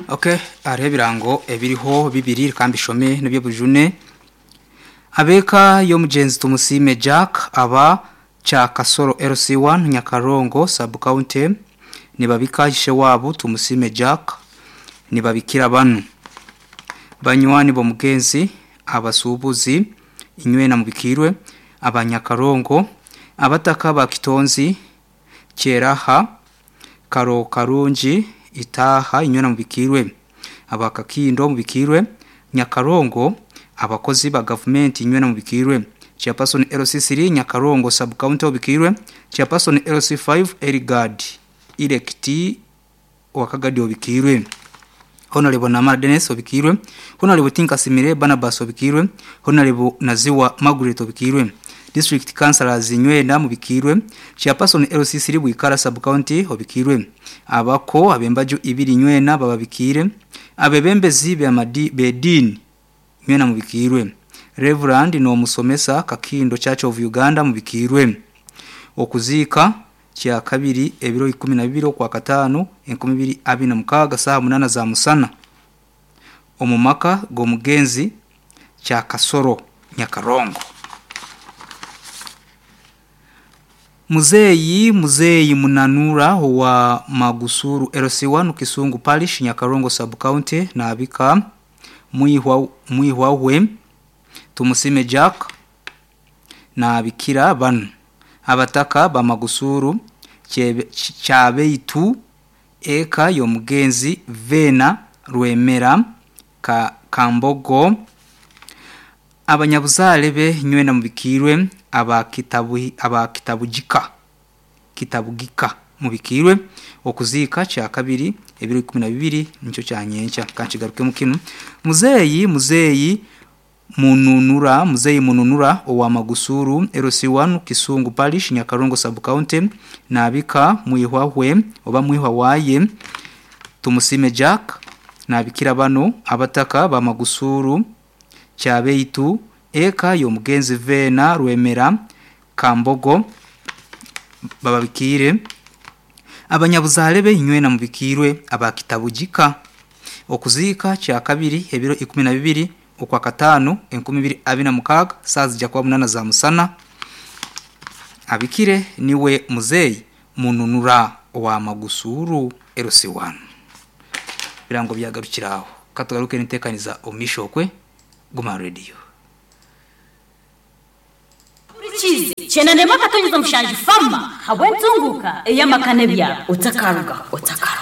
Ok, hariho ebirango ebiriho bibiri reka mbishome n'eby'obujune. Ab'eka y'omugyenzi Tumusiime Jack aba Kyakasoro LC1 Nyakarongo Sub-County nibabika ishe waabo Tumusiime Jack nibabikira banu. Banywani b'omugenzi, abasuubuzi, inywena mubikiirwe, aba Nyakarongo, abataka ba Kitonzi, Kyeraha, Karokarungi, Itaaha inywena mubikiirwe, aba Kakindo mubikiirwe, Nyakarongo, abakozi ba gavumenti inywena mubikiirwe, Chairperson LC3 Nyakarongo Sub-County obikiirwe, Chairperson LC5 Erigard Elect owa Kagadi obikiirwe, Honarebo Namara Denis obikiirwe, Honarebo Tinkasimire Barnabas obikiirwe, Honarebo Naziwa Margaret obikiirwe, District Councillors inywena mubikiirwe, Chairperson LC3 Bwikara Sub-County obikiirwe, Abako ab'embaju ibiri inywena bababikiire, Abebembezi b'ediini inywena mubikiirwe, Rev. N'omusomesa Kakindo Church of Uganda mubikiirwe. Okuziika Kyakabiri ebiro 12 Okwakataano 2026 saaha munaana za musana omu maka g'omugenzi Kyakasoro Nyakarongo. Muzeeyi Muzeeyi Munanura owa Magusuru LC1 Kisungu Parish Nyakarongo Sub County nabika mwihwa we Tumusiime Jack nabikira banu, Abataka ba Magusuru Kyabeitu eka y'omugenzi Veena Rwemera Kambogo, abanyabuzaare be nywena mubikiirwe aba Kitabugika Kitabugika mubikiirwe okuziika Kyakabiri ebiro 12 nikyo kya nyenkya. Kankigarukemu kinu. Muzeeyi Muzeeyi Mununura Muzeeyi Mununura owa Magusuru LC1 Kisungu Parish Nyakarongo Sub-County naabika mwihwa we oba mwihwa waaye Tumusiime Jack naabikira bano abataka ba Magusuru Kyabeitu eka y'omugenzi Veena Rwemera Kambogo bababikiire abanyabuzaare be inywena mubikiirwe aba Kitabugika okuziika Kyakabiri ebiro 12 Okwakataano 2026 saaha zija kuba munaana za musana. Abikire niwe Muzeeyi Mununura owa Magusuuru LC1. Ebirango byagarukira aho. Ka tugaruke n'enteekaniza omu maisho okwe. Guma aha rediyo. Hurikiize, Kyenda n'emwe akatonyeza mushanju Fama habw'entunguuka ey'amaka n'ebyaro. Otakarugaho, otakarugaho.